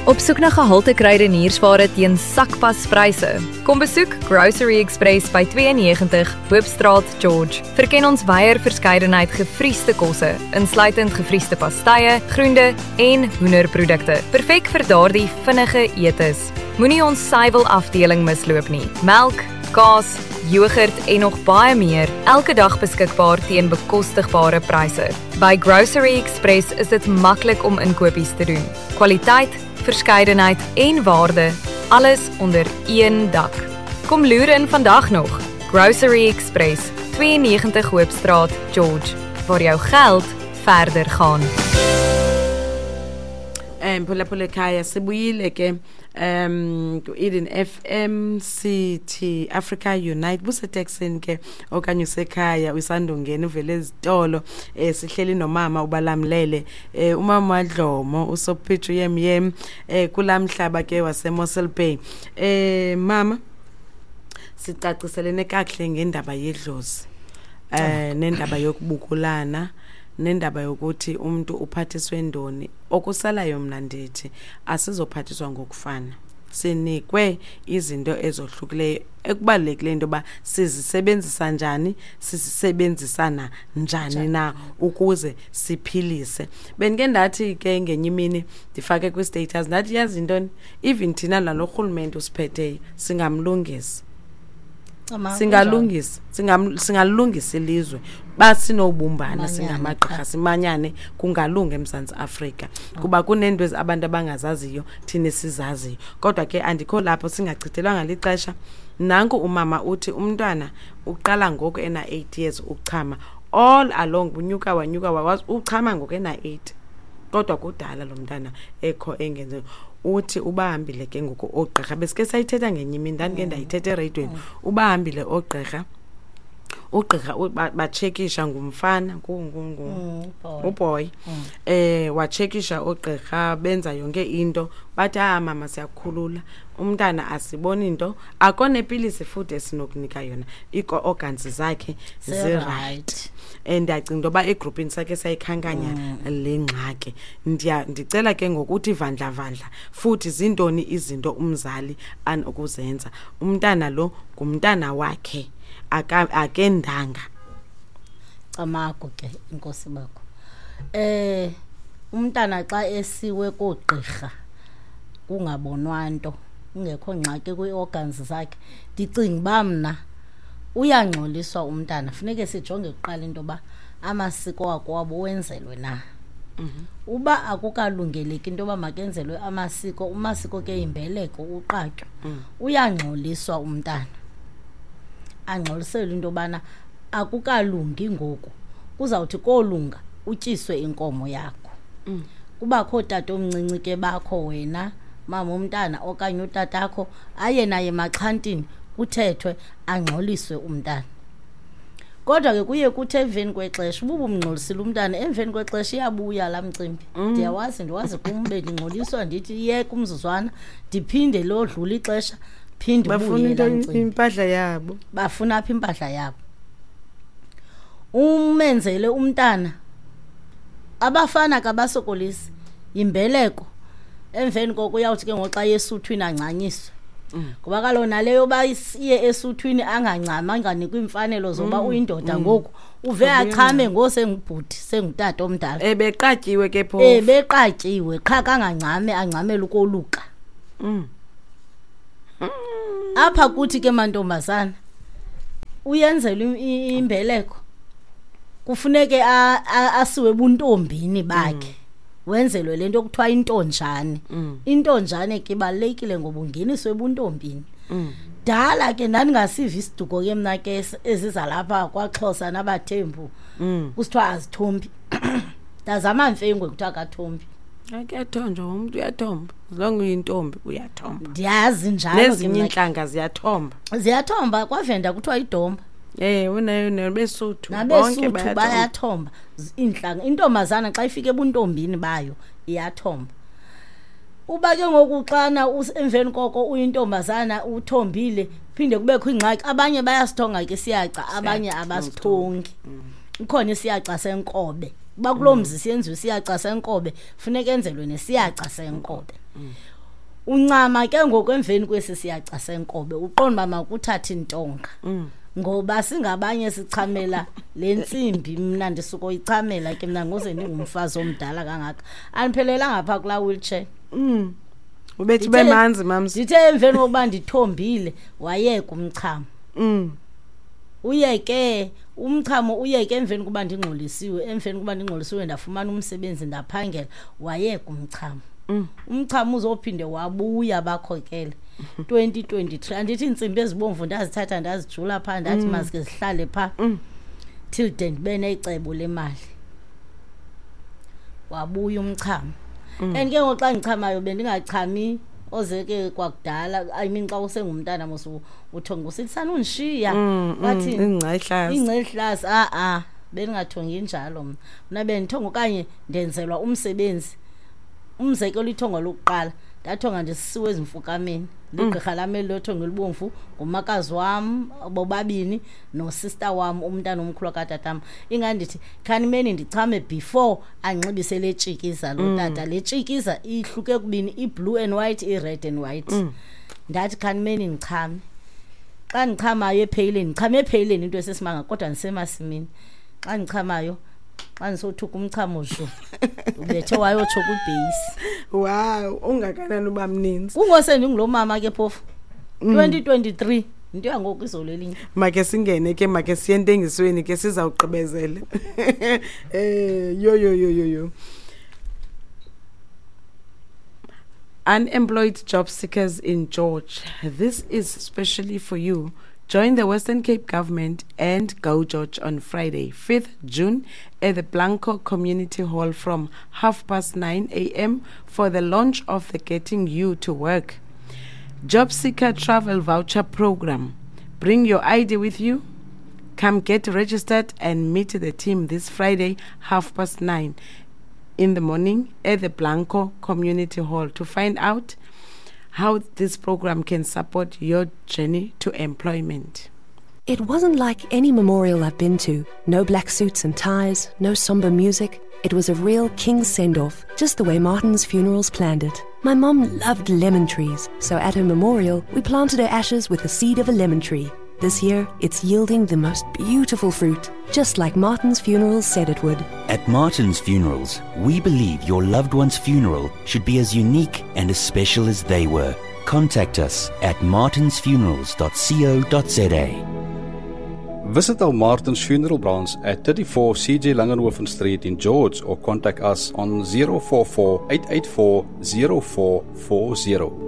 Op soek na gehalte kruideniersware teen sakpaspryse. Kom besoek Grocery Express by 92 Hoopstraat, George. Verken ons wyeer verskeidenheid gevriesde kosse, insluitend gevriesde pastye, groente en hoenderprodukte. Perfek vir daardie vinnige etes. Moenie ons suiwelafdeling misloop nie. Melk, kaas, yoghurt en nog baie meer, elke dag beskikbaar teen bekostigbare pryse. By Grocery Express is dit maklik om inkopies te doen. Kwaliteit, verskeidenheid en waarde, alles onder een dak. Kom loer in vandag nog. Grocery Express, 92 Hoopstraat, George, waar jou geld verder gaan. Mphulaphula ekhaya, sibuyile ke ku-Eden FM City Africa Unite. Buseteksini ke okanye usekhaya usandungena uvele ezitolo, sihleli nomama ubalamlele, umama Wadlomo uSophichu yem yem, kulamhlaba ke waseMossel Bay. Mama, sicaciselene kakuhle ngendaba yedlozi, nendaba yokubukulana, nendaba yokuthi umuntu uphathiswe ndoni. Okusalayo mna ndithi asizophathiswa ngokufana, sinikwe izinto ezohlukileyo ekubalulekileyo into yoba sizisebenzisa njani, sisebenzisana njani na ukuze siphilise. Bendike ndathi ke ngenye imini ndifake kwi-status ndathi, yazi intoni, even thina nalo rhulumente usiphetheyo singamlungisa. Singalungisa, singalungisa ilizwe basinobumbana. Manyane, singamagqirha qha. Simanyane, kungalunga eMzantsi Afrika, kuba kuneento abantu abangazaziyo thina sizaziyo. Kodwa ke andikho lapho, singachithelwanga lixesha. Nanku umama uthi umntwana uqala ngoku ena-8 years ukuchama. All along unyuka wanyuka wawazi uchama ngoku ena-8, kodwa kudala lo mntana ekho engenze. Uthi ubahambile ke ngoku oogqirha, besike sayithetha ngenye imini, ndandike ndayithetha ereyidweni. Ubahambile oogqirha, ugqirha batshekisha ngumfana Boy. Uboy. Watshekisha oogqirha, benza yonke into, bathi, ah mama, siyakukhulula umntana, asiboni into, akho nepilisi futhi esinokunika yona, ii-organs zakhe ziright. Ziright. Ndiyacinga into yoba egrupini sakhe sayikhankanya le ngxaki. Ndicela ke ngokuthi vandla vandla futhi, zintoni izinto umzali anokuzenza? Umntana lo ngumntana wakhe, akendanga. Camagu ke, inkosi bakho. Umntana xa esiwe koogqirha kungabonwa nto, kungekho ngxaki kwii-organs zakhe, ndicinga uba mna uyangxoliswa umntana. Funeke sijonge kuqala into yoba amasiko wakwabo wenzelwe na. Uba akukalungeleki into yoba makenzelwe amasiko, umasiko ke yimbeleko, uqatywa, uyangxoliswa umntana, angxoliselwe into yobana akukalungi ngoku, kuzawuthi kolunga utyiswe inkomo yakho. Kubakho ootata omncinci ke bakho wena mama umntana okanye utatakho, aye naye emaxhantini, kuthethwe, angxoliswe umntana. Kodwa ke kuye kuthi emveni kwexesha, uba ubumngxolisile umntana, emveni kwexesha iyabuya laa mcimbi. Ndiyawazi, ndiwazi kum, bendingxoliswa, ndithi yeka umzuzwana, ndiphinde lodlula ixesha, phinde bafuna ubuye into laa mcimbi. Impahla yabo. Bafuna apha impahla yabo. Umenzele umntana, abafana kabasokolisi, yimbeleko. Emveni koko uyawuthi ke ngoku xa esuthwini angcanyiswe, ngoba kaloku naleyo yoba iye esuthwini angancami, anganikwa iimfanelo zoba uyindoda ngoku, uve Ubuye achame ngosengubhuti, sengutata omdala. Ebeqatyiwe ke phofu. Beqatyiwe qha, kangangcame, angcamele ukoluka. Apha kuthi ke mantombazana, uyenzelwe imbeleko, kufuneke asiwe ebuntombini bakhe, wenzelwe le nto kuthiwa intonjane. Intonjane ke ibalulekile ngoba ungeniswe ebuntombini. Dala ke ndandingasiva isiduko ke mna ke eziza lapha kwaXhosa nabaThembu, kusithiwa azithombi. Ndazama mfengwe kuthiwa akathombi. Akuyathonjwa, umntu uyathomba, as long uyintombi uyathomba. Ndiyazi njalo ke nezinye mna ke. Iintlanga ziyathomba. Ziyathomba, kwaVenda kuthiwa idomba. Unayo nabesuthu bonke nabesuthu bayathomba. Bayathomba. Iintlanga, intombazana xa ifika ebuntombini bayo iyathomba. Uba ke ngoku xana emveni koko uyintombazana uthombile, phinde kubekho ingxaki, abanye bayasithonga ke siyaca, abanye Siyaca, abasithongi. Ikhona isiyaca senkobe, uba kuloo mzi siyenziwe isiyaca senkobe, funeka enzelwe nesiyaca senkobe. Uncama ke ngoku emveni kwesi siyaca senkobe, uqonda uba makuthathe intonga. Ngoba singabanye sichamela le ntsimbi, mna ndisukoyichamela ke mna ngoze ndingumfazi omdala kangaka. Andiphelelanga phaa kulaa wheelchair. Ubethi ube manzi, mams. Ndithe emveni kokuba ndithombile, wayeka umchamo. Uyeke umchamo, uyeke emveni kuba ndingxolisiwe. Emveni kuba ndingxolisiwe ndafumana umsebenzi, ndaphangela, wayeka umchamo. Umchamo uzophinde wabuya bakhokele 2023. Andithi iintsimbi ezibomvu ndazithatha ndazijula phaa, ndathi mazike zihlale phaa till de ndibe necebo lemali. Wabuya umchamo. And ke ngoku xa ndichamayo bendingachami oze ke kwakudala, I mean xa usengumntana mos uthonga usithi sanundishiya, wathi ingca ihlasi. Ingca ihlasi. A-a, bendingathongi njalo mna. Mna bendithonga okanye ndenzelwa umsebenzi. Umzekelo, ithongo lokuqala ndathonga ndisisiwe ezimfukameni ligqirha lam eli lothongo elibomvu, ngumakazi wam bobabini nosista wam, umntana omkhulu katatam. Ingandithi khanimeni ndichame before anxibise le tshikiza lo tata. Le tshikiza ihluke kubini, i-blue and white, i-red and white. Ndathi khanimeni ndichame. Xa ndichamayo epheyileni, ndichame epheyileni, into esesimanga, kodwa ndisemasimini. Xa ndichamayo, xa ndisothuka umchamo zhu, ubethe wayotsho kwibheyisi. Wow, ungakanani uba mninzi. Kungose ndingulo mama ke phofu 2023, into yangoku izolo elinye. Make singene ke, make siye entengisweni ke, sizawugqibezela. Yo yo yo yo yo. Unemployed job seekers in George, this is especially for you. Join the Western Cape Government and Go George on Friday, 5th June at the Blanco Community Hall from 9:30 a.m. for the launch of the Getting You to Work Job Seeker Travel Voucher Program. Bring your ID with you. Come get registered and meet the team this Friday, 9:30 in the morning at the Blanco Community Hall to find out how this program can support your journey to employment. It wasn't like any memorial I've been to. No black suits and ties, no somber music. It was a real king's send-off, just the way Martin's Funerals planned it. My mom loved lemon trees, so at her memorial, we planted her ashes with the seed of a lemon tree. This year, it's yielding the most beautiful fruit, just like Martin's Funerals said it would. At Martin's Funerals, we believe your loved one's funeral should be as unique and as special as they were. Contact us at martinsfunerals.co.za. Visit our Martin's Funeral Branch at 34 CJ Langenhoven Street in George or contact us on 044 884 0440.